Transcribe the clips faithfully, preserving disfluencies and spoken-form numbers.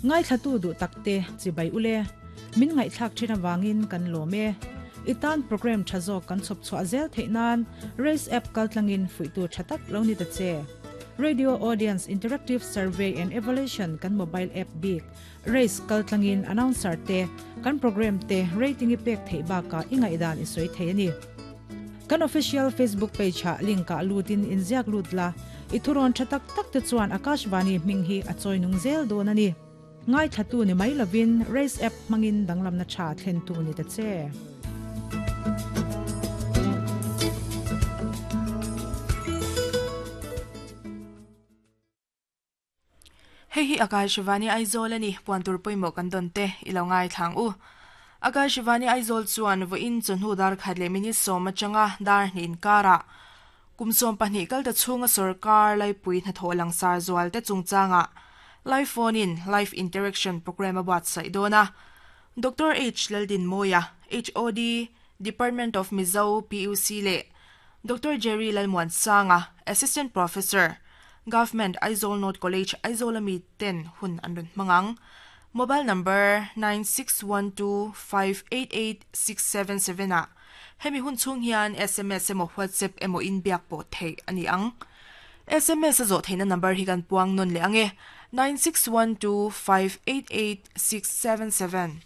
Ngai thlatu du takte chibai ule min ngai thlak thina wangin kan lome itan program thazo kan chop chwa zel theinan race app kaltlangin fuitu thatak lo ni ta che Radio Audience Interactive Survey and Evaluation kan mobile app big race kaltlangin announcer te kan program te rating i pek thei ba ka ingai dan i soi thei ani kan official Facebook page ha link ka lutin inziak lutla ithuron thatak tak te chuan Akashvani minghi achoi nung zel don ani ngai thatu ni mai lovin race app mangin danglam na cha thlen tu ni ta che Hei hi Akashvani Aizawl ani puantur poimo kan don te ilo ngai thlang u Akashvani Aizawl chuan vo in chunhu dar khatle mini soma changa dar hnin kara kumsom pahnih kal ta chunga sarkar lai pui na tholang sar zual te chungchanga live phone in live interaction program about sai dona Doctor H Laldin Moya H O D Department of Mizo P U C le Doctor Jerry Lalmuan Sanga Assistant Professor Government Aizawl North College Aizawl ami ten hun anrun mangang mobile number nine six one two five eight eight six seven seven a hemi hun chung hian S M S emo WhatsApp emo in biak po thei ani ang S M S zo theina number hi kan puang non le ange nine six one two five eight eight six seven seven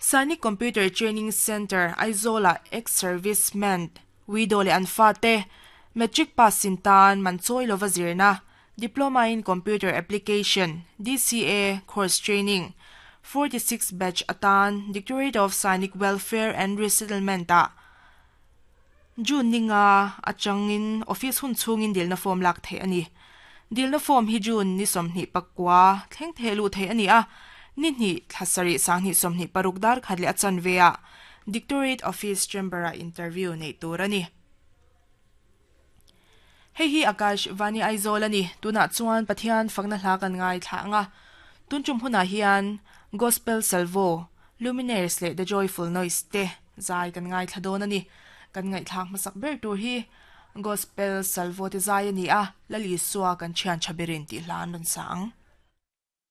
Sainik Computer Training Center Aizola ex-serviceman widow le anfa te Metric pass sintan manchoi lova zirna Diploma in Computer Application D C A course training forty-six batch atan Directorate of Sainik Welfare and Resettlement a June ninga achangin office hun chungin dilna form lak the ani dilna form hi June ni somni pakwa thleng thelu the ani a ni ni thlasari sangni somni parukdar khadle achan vea Directorate Office Chamber a interview nei tur ani Hei hi Akashvani Aizawl ani tuna chuan Pathian fakna hla kan ngai thla anga tunchum huna hian Gospel Salvo Luminaires le The Joyful Noise te zai kan ngai thla don ani kan ngai thlak masak ber tur hi Gospel Salvo te zai ani a lali suwa kan thian chabirin ti hlan ron sang.